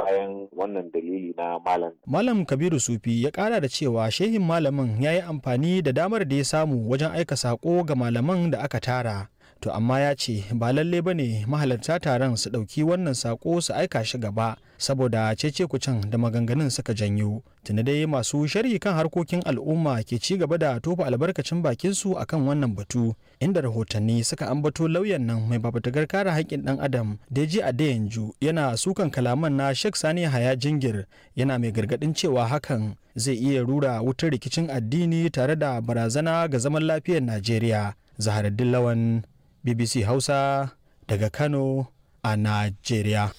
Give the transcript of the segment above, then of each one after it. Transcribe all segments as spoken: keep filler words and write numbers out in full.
bayan wannan dalili na malam. Malam Kabiru Sufi ya kara da cewa shehin malamin ya yi amfani da damar da ya samu wajen aika sako ga malaman da aka tara. To amma ya ce ba lalle ba ne mahalarta taron su ɗauki wannan sako su aika shi gaba saboda cece kucin da maganganun suka janyo. Tuni dai masu sharhi kan harkokin al'umma ke ci gaba da tofa albarkacin bakinsu akan wannan batu, inda rahotanni suka ambato lauyan nan mai babatagar kare haƙƙin ɗan adam Deji Adeyanju yana sukan kalaman na Sheikh Sani Haya Jingir, yana mai gargaɗin cewa hakan zai iya rura wutar rikicin addini tare da barazana ga zaman lafiyar Najeriya. Zaharaddin Lawan, B B C Hausa, daga Kano a Najeriya.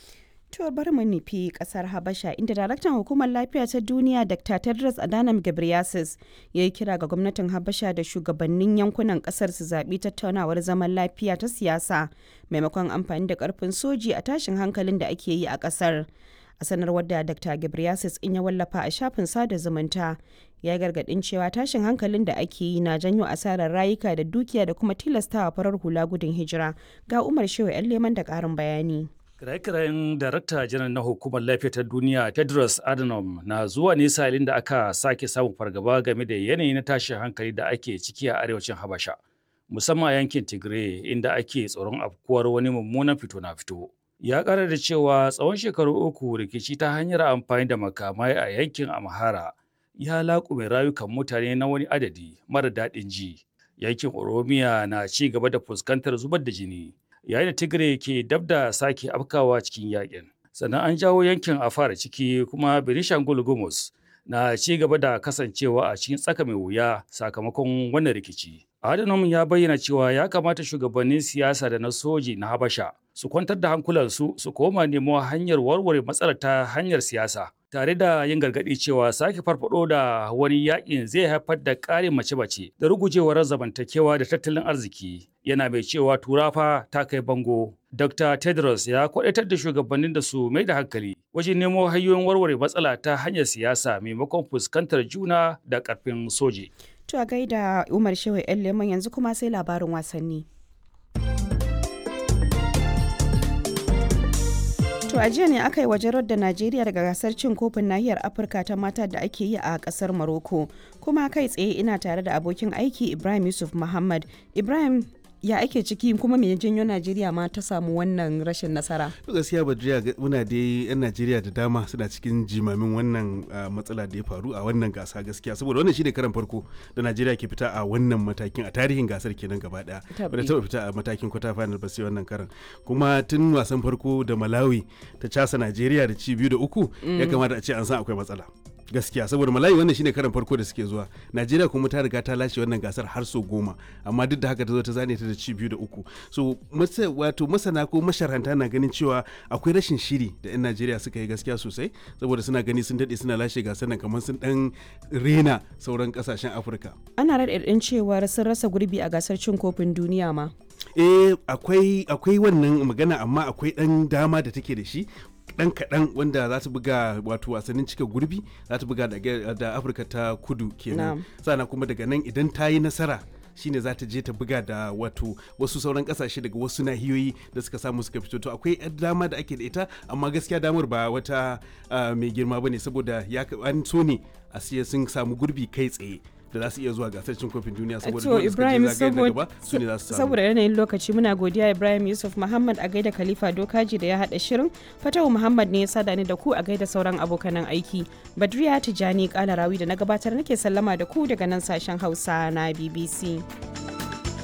To bari mu nufi kasar Habasha, inda daraktan hukumar lafiya ta duniya Doctor Tedros Adhanom Ghebreyesus ya yi kira ga gwamnatin Habasha da shugabannin yankunan kasar su zaɓi tattaunawar zaman lafiya ta siyasa maimakon amfani da karfin soji a tashin hankalin da ake yi a kasar. A sanarwar da Doctor Ghebreyesus in ya wallafa a shafin sada zumunta, ya gargadin cewa tashin hankalin da ake yi na janyo asarar rayuka da dukiya da kuma tilastawa farar hula gudun hijira. Ga Umar Shehu 'yan Leman da ƙarin bayani. Kiraye-kirayen Darakta Janar na Hukumar Lafiya ta Duniya Tedros Adhanom na zuwa ne sa'ilin da aka sake samun fargaba game da yanayi na tashin hankali da ake ciki a arewacin Habasha, musamman a yankin Tigray, inda ake tsoron afkuwar wani mummunan fito na fito. Ya ƙara da cewa tsawon shekaru uku rikici ta hanyar amfani da makamai a yankin Amhara ya laƙume rayukan mutane na wani adadi mara daɗin ji. Yankin Oromiya na ci gaba da fuskantar zubar da jini, yayin da Tigray ke dab da sake afkawa cikin yakin. Sannan an jawo yankin Afar ciki, kuma Benishangul Gumuz na ci gaba da kasancewa a cikin tsaka mai wuya sakamakon wannan rikici. Adhanom ya bayyana cewa ya kamata shugabannin siyasa da na soji na Habasha su kwantar da hankulansu su koma nemo hanyar warware matsalar ta hanyar siyasa, tare da yin gargaɗi cewa sake farfado da wani yakin zai haifar da ƙarin mace-mace da rugujewar zamantakewa da tattalin arziki. Yana mai cewa turafa ta kai bango. Doctor Tedros ya kwaɗaitar da shugabannin da su mai da hankali wajen nemo hanyoyin warware matsala ta hanyar siyasa maimakon fuskantar juna da ƙarfin soji. To a gaida Umar Shehu 'yan Leman, yanzu kuma sai labarin wasanni. To a jiya ne aka yi wajen da Najeriya daga gasar cin kofin nahiyar Afirka ta mata da ake yi a kasar Morocco. Kuma kai tsaye ina tare da abokin aiki Ibrahim Yusuf Muhammad. Ibrahim, ya ake ciki, kuma me janyo Najeriya ma ta samu wannan rashin nasara? To gaskiya Badriya, muna dai yan Najeriya da dama suna cikin jimamin wannan matsala da ya faru a wannan gasa gaskiya, saboda wannan shine karan farko da Najeriya ke fita a wannan matakin a tarihin gasar kenan gaba daya. Bata taba fita a matakin quarter final ba sai wannan karan. Kuma tun wasan farko da Malawi ta casa Najeriya da ci biyu da uku ya kamata a ce an san akwai matsala. Gaskiya saboda Malawi wannan shine karan farko da suke zuwa Najeriya, kuma ta riga ta lashe wannan gasar har sau goma, amma duk da haka ta zo ta zane ta da ci biyu da uku. So wato masana ko masharanta na ganin cewa akwai rashin shiri da yan Najeriya suka yi gaskiya sosai, saboda suna gani sun daɗe suna lashe gasar nan kamar sun dan rena sauran kasashen Afirka. Ana raɗaɗin cewa sun rasa gurbi a gasar cin kofin duniya ma. Eh, akwai akwai wannan magana, amma akwai ɗan dama da take da shi dan kaɗan wanda za ta buga, wato wasannin cika gurbi za ta buga da Afirka ta Kudu kenan. Sannan kuma daga nan idan ta yi nasara shine za ta je ta buga da wato wasu sauran kasashe daga wasu nahiyoyi da suka samu suka fito. To akwai yar dama da ake da ita, amma gaskiya damar ba wata mai girma bane, saboda ya an so ne a siya sun samu gurbi kai tsaye da za su iya zuwa gasar cin kofin duniya, saboda To Ibrahim, gaba su ne za su samu. Saboda yanayin lokaci, muna godiya Ibrahim Yusuf Muhammad, a gaida Khalifa Dokaji da ya hada shirin. Fatahu Muhammad ne ya sada ni da ku, a gaida sauran abokanan aiki. Badriya Tijani Kalarawi da na gabatar nake sallama da ku daga nan sashen Hausa na B B C.